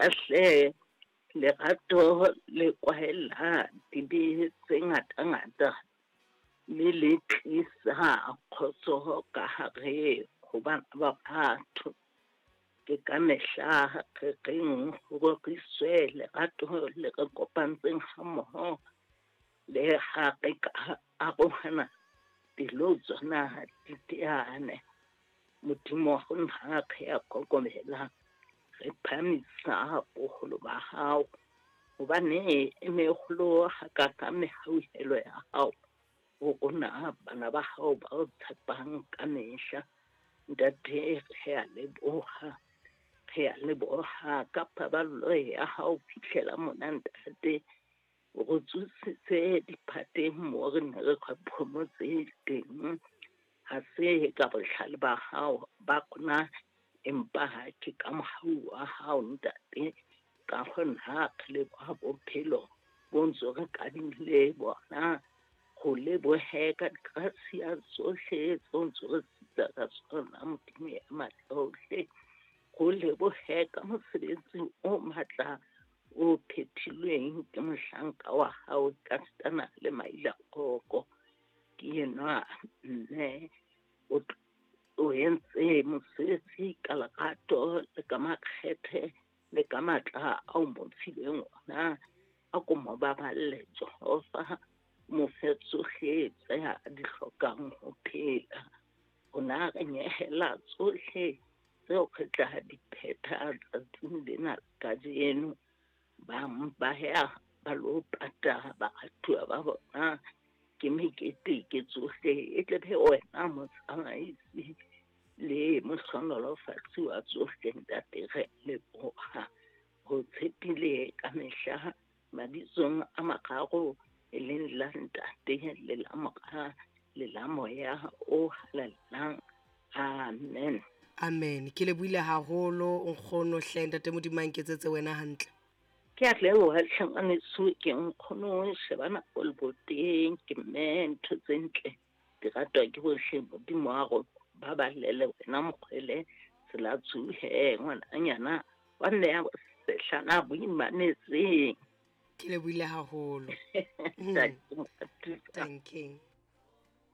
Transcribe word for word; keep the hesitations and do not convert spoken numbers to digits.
Eya hle, lerato le kwahela dibe tse ngata-ngata, mme le tlisa kgotso ka hare ho bana ba batho. Ke ka mehla re reng ho roriswe lerato le re kopantseng ha mmoho, le ha re ka arohana pelo tsona di teane. Modimo wa rona re a kokobela, re phahamisa boholo ba hao, hobane e meholo hakakang mehauhelo ya hao ho rona bana ba hao ba o tshepang ka mehla. Ntate, re a leboha, re a leboha ka paballo ya hao fihlela mona ntate. O re tsositse diphateng moo re ne re phomotse teng. Ha se ka bohlale ba hao ba rona, empa ke ka mohau wa hao ntate. Ka hona re leboha bophelo bo ntso re kadimile bona. Ho lebohe ka digrasia tsohle tseo ntso re sitsa ka tsona Modimo ya matla ohle. Ho lebohe ka mosebetsi o matla o phethilweng ke mohlanka wa hao Kastana le Maila Koko. Ke enwa mme o, o entse mosebetsi ka lerato le ka makgethe le ka matla ao mo fileng ona. A ko mo baballe Jehova, mo fe tsohle tse a di hlokang ho phela. Rona re nyehela tsohle tseo re tla di phetha tsatsing lena kajeno. Bang ba ya ba lo pata baratuwa ba bona, ke mekete ke tsohle, e tle be wena motsamaisi le mohlonolofatsi wa tsohle ntate. Re leboha ho tshepile ka mehla mabitsong a mararo, e leng la Ntate le la Mora le la Moya o Halalelang. Amen. Amen. Ke lebohile haholo nkgono hle, ntate Modimo a nketsetse wena hantle. Ke a leboha hle ngwaneso, ke nkgono shebana o leboteng, ke mme ntho tse ntle di ratwa ke bohle. Modimo wa rona ba balele wena mokgwele tsela tsohe ngwananyana wa mme ya sehlana boimanetseng. Ke lebohile haholo. Thank you.